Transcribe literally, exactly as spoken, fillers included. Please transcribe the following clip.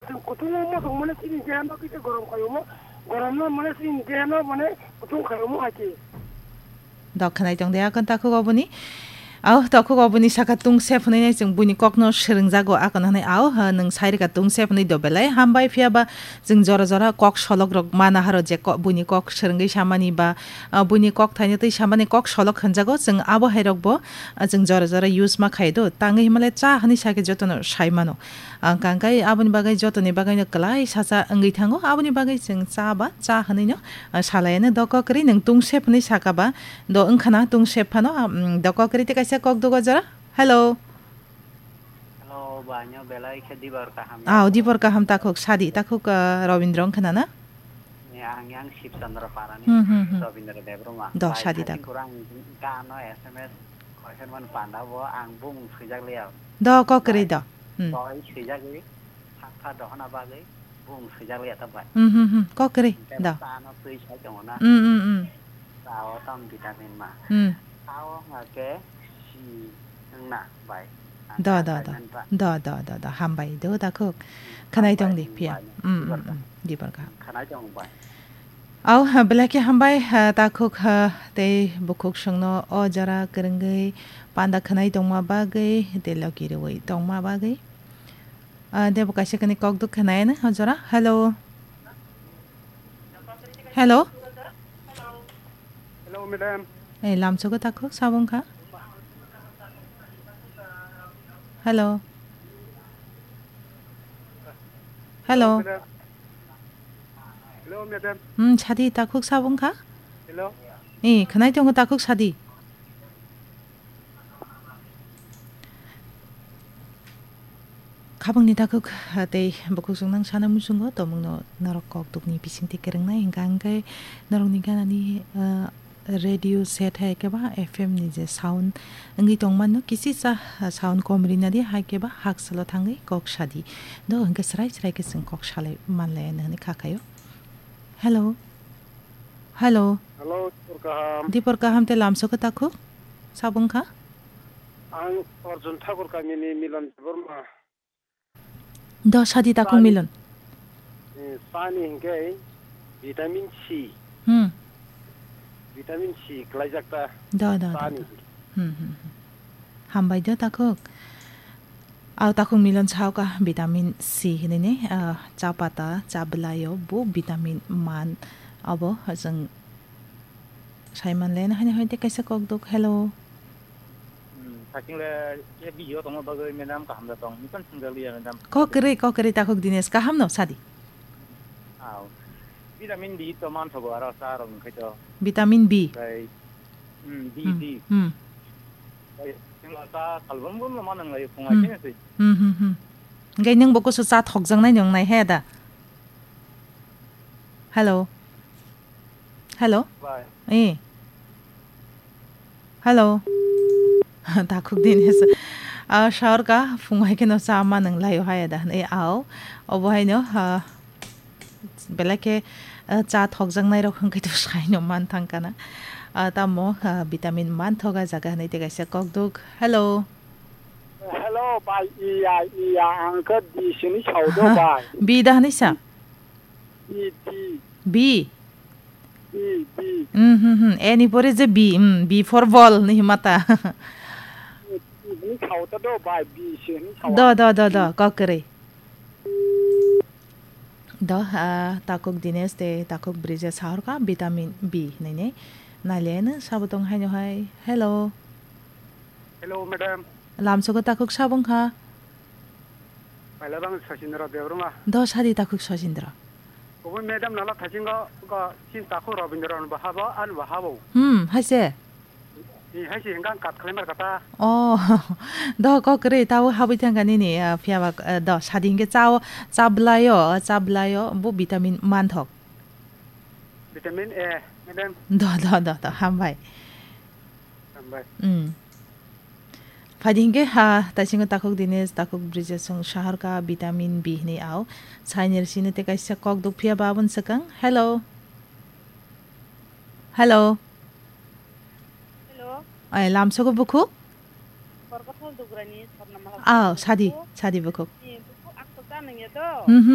Kutung o mosok mane chini deha no kisa gorom khayo mo, gorom no mane chini deha no mane kutung khayo mo hai khe. Dok khnai tong de akon takhuk oboni. Au takhuk oboni saka tungsep hwnwi nai chwng buini kokno swrwngjago akon hwnwi au ha nwng sairika tungsep hwnwi do belai hambai phiya ba chwng jora jora kok solok rok mana haro je ko-, buini kok swrwngwi samani ba, ah, buini kok thaino twi samani kok solok hwnjago chwng abo hai rok bo, ah, chwng jora jora use ma khai do tangwi himale cha hwnwi sake jotono sai mano. Ang kangkai aboni bagwi jotoni bagwino kwlai sacha wngwi thango. Aboni bagwi chwng cha ba cha hwnwino, ah, salaiano do kokrwi nwng tungsep hwnwi saka ba do wngkhana tungsep phano, ah, mm, do kokrwi tei kaisa kok dugo jora. Hello. Hello, banyo belai khe dibor kaham ya. Ah, dibor kaham takhuk sadi, takhuk, ah, Robindro wngkhana na? Ni ang yang Shibchandra Parani, Hmm, hmm, hmm. Robindra Debbarma. Do Bai sadi thani tak. Kurang gano S M S Koiher man panda bo ang bung swijak liya. Do kokrwi Bai. Do. Hmm. Doi swijak li. Sakha dohona bagwi bung swijak liya ta bai. Hmm, hmm, hmm. Kokrwi. Hingke Do. Sa no twi sai tongo na. Hmm, hmm, hmm. Sa o tam vitamin ma. Hmm. Sa o hwnga ke si wngna bai. Do, do, do. Ang do, do, do, do. Hambai do, takhuk. Khanai tong di, Hambai phiya. Bai. Hmm, hmm, Dibor ka. Hmm. Dibor ka. Khanai tong bai. Au, ha, belai khe hambai, ha, takhuk, ha, tei bukhuk songno o jora kwrwngwi panda khwnai tongma bagwi, tei loki rwui tongma bagwi. Ah, debo kaisa kani kok duk khwnai na o jora. Hello. Hello. Hello, madam. Eh, lamsogo takhuk sabung kha. Hello. Hello. Madam. Hello, madam. Hmm, sadi takhuk sabung kha? Hello. Eh, khwnai tongo takhuk sadi. Khabangni takhuk, ah, tei bukhuk chwng nang sana muchungo, tomungno norok kok dukni bisingtwi kwrwngnai, hingka hingke norokni ganani, ah, radio set hai khe ba F M ni je sound wngwi tongmano, kisisa sound kom rina di, hai khe ba haksalo thangwi kok sadi. Do hwnkhe srai srai khe chwng kok salai manlai, ano hwnwi kha khaio. Hello. Hello. Hello, Dipor kaham. Dipor kaham tei lamsok khe takhuk? Sabung kha? Ang Arjun Thakur kamini Milan Debbarma. Do sadi takhuk Sani. Milan. Eh, sani hingke vitamin C. Hmm. Vitamin C klaijak ta. Do, do, do, sani. Do. Hmm, hmm, hmm. Hambai do takhuk. Au takhuk Milan sao ka vitamin C hinui ni, ah, cha pata, cha bwlaio bo vitamin man abo chwng sai man le na hani hai tei kaisa kok duk. Hello. Hmm, thakching le, eh, video tongma bagwi madam kaham da tong. Nukhan swngjak liya madam. Kok kwrwi, kok kwrwi takhuk Dinesh, kaham no sadi? Au. Vitamin D to manthogo aro cha rok wngkhai to. Vitamin B. Okai, hmm, D, hmm, D. Hmm. Okai, chwng cha salbrum brum no manang lai phung, hmm, ai khe se. Hmm, hmm, hmm. Hingke nwng bo kusu cha thokjaknai nung nai he da? Hello. Hello? Bye. Eh. Hello. Takhuk din hesa. Ah, saur ka phung hai khe no cha ma nang lai hai da. Eh, ao. Obo hai no, ah, belai khe, ah, cha thokjaknai rok hwnkhe to sai no man thang kana. Ah, tamo, ah, vitamin man thoga jaga hinui tei kaisa kok duk. Hello. Hello, bai, iya, iya, ang khe di sini sao do, bai. Bi da hinui sa? Di, di. Bi? Di, di. Hmm, hmm, hmm. E ni pore je bi, hmm, B for ball ni himata. Di, di, hini khao ta do, bai, bi se hini khao. Do, do, do, do, kok kwrwi. Do, ah, takhuk Dinesh tei takhuk Brija sahor ka vitamin B hinui ni. Naile no sabo tong hai no hai. Hello. Hello, madam. Lamsogo takhuk sabung kha. Paila bang Sachindra Debbarma. Do sadi takhuk Sachindra. Obo madam nala thachingo go chin takhuk Robindra no bahabo, an bahabo. Hmm, haise? Ni haise hingkang kat khlaimar kata. Oh, do kok kwrwi tao habwi thangka nini, ah, phiya ba, ah, do sadi hingke chao, cha bwlaio, cha bwlaio, bo vitamin manthok. Vitamin A, madam. Do, do, do, do, hambai. Hambai. Hmm. Phaidi hingke ha, taisingo takhuk Dinesh, takhuk Brija song sahar ka vitamin B hinui ao. Sainir sini te kaisa kok duk phiya ba aboni swkang. Hello. Hello. Hello. Ai, lamsogo bukhuk? Borkothal Dugrani Swarnamala. Ao, sadi, bukhuk. Sadi bukhuk. Ni bukhuk aksa ta nangya do? Hmm, hmm.